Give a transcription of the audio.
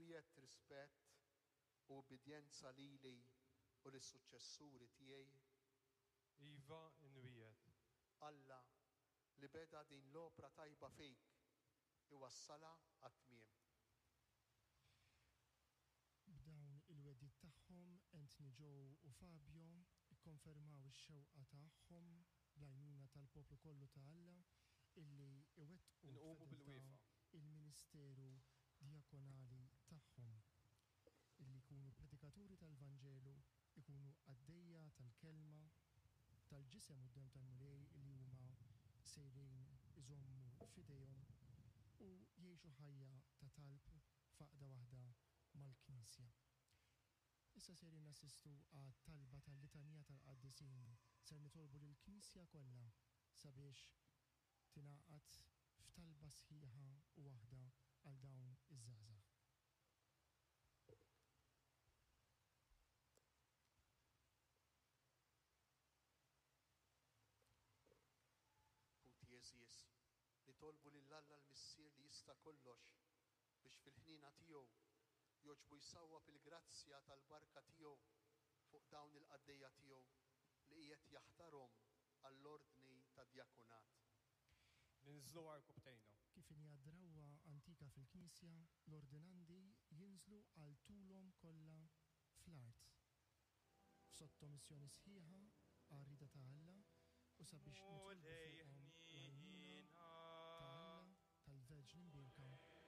Twiegħedt rispett u ubbidjenza lili u lis-suċċessuri tiegħi? Iva, inwiegħed. Alla, li beda din l-opra tajba fik, iwassalha għat-tmiem. B'dawn il-wegħdiet tagħhom, Anthony Joe u Fabio kkonfermaw ix-xewqa tagħhom, bl-għajnuna tal-poplu kollu ta' Alla, illi iwettqu Inqumu b'fedeltà bilwieqfa. il-ministeru djakonali tagħhom, illi jkunu predikaturi tal-Vanġelu, ikunu qaddejja tal-Kelma, tal-Ġisem u d-Demm tal-Mulej illi huma sejrin iżommu f'idejhom, u jgħixu ħajja ta' talb f'għaqda waħda mal-Knisja. Issa sejrin nassistu għat-talba tal-Litanija tal-Qaddisin. Ser nitolbu lill-Knisja kollha sabiex tingħaqad f'talba sħiħa u waħda għal dawn iż-żgħażagħ. Ħuti għeżież, nitolbu lil Alla l-Missier li jista' kollox biex fil-ħniena tiegħu jogħġbu jsawwab il-grazzja tal-barka tiegħu fuq dawn il-qaddejja tiegħu li qiegħed jaħtarhom għall-ordni tad-djakonat. Ninżlu għarkupptejna. Kif inhi drawwa antika fil-Knisja, l-ordinandi jinżlu għal tulhom kollha fl-art, f'sottomissjoni sħiħa għar-rieda ta' Alla u sabiex nitolbu Mulej fuqhom l-għajnuna ħniena. ta' Alla, tal-Verġni Mbierka.